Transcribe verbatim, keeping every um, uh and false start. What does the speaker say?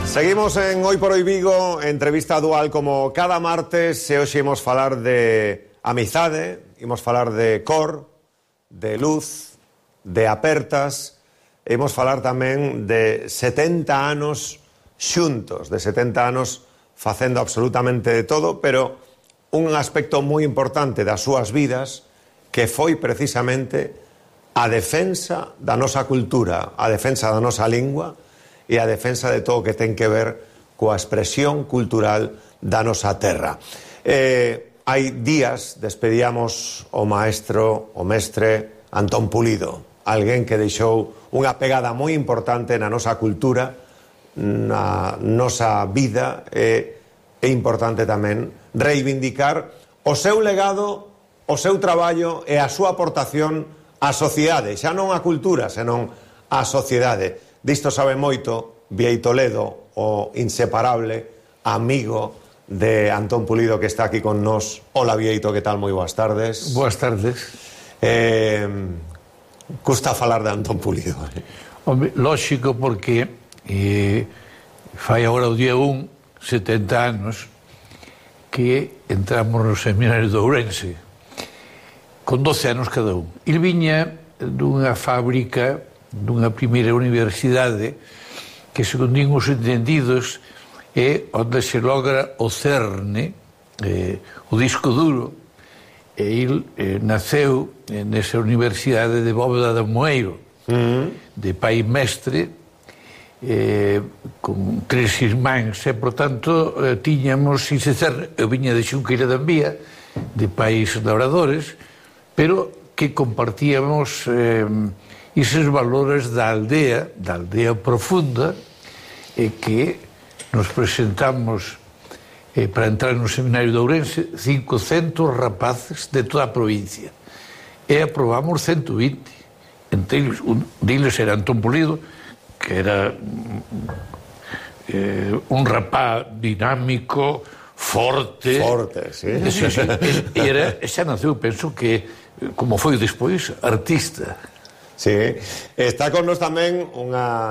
Seguimos en Hoy por Hoy Vigo, entrevista dual como cada martes, e hoxe imos falar de amizade, imos falar de cor, de luz, de apertas, e imos falar tamén de setenta anos xuntos, de setenta anos facendo absolutamente de todo, pero un aspecto moi importante das súas vidas que foi precisamente a defensa da nosa cultura, a defensa da nosa lingua e a defensa de todo o que ten que ver coa expresión cultural da nosa terra. Eh, hai días despedíamos o maestro, o mestre Antón Pulido, alguén que deixou unha pegada moi importante na nosa cultura, na nosa vida, e é importante tamén reivindicar o seu legado, o seu traballo e a súa aportación á sociedade, xa non á cultura, senón á sociedade. Disto sabe moito Bieito Ledo, o inseparable amigo de Antón Pulido, que está aquí con nós. Hola, Bieito, que tal? Moi boas tardes. Boas tardes. Eh, custa falar de Antón Pulido. Hombre, lógico, porque eh, fai agora o día un, setenta anos, que entramos no seminario de Ourense, con doce anos cada un. Il viña dunha fábrica, dunha primeira universidade, que, segundo din os entendidos, é onde se logra o cerne, eh, o disco duro. E il eh, naceu eh, nesa universidade de Bóveda de Moeiro, mm. de pai mestre, eh, con tres irmáns, e, por tanto, eh, tiñamos, sin se cer, eu viña de Xunqueira de Ambía, de pais labradores, pero que compartíamos eh, eses valores da aldea, da aldea profunda, e que nos presentamos eh, para entrar no seminario de Ourense cincocentos rapaces de toda a provincia, e aprobamos ciento vinte. Entre eles, un deles era Antón Pulido, que era eh, un rapaz dinámico, forte. Forte, sí. Sí, sí. E era, xa naceu, penso que, como foi despois, artista. Sí. Está con nos tamén unha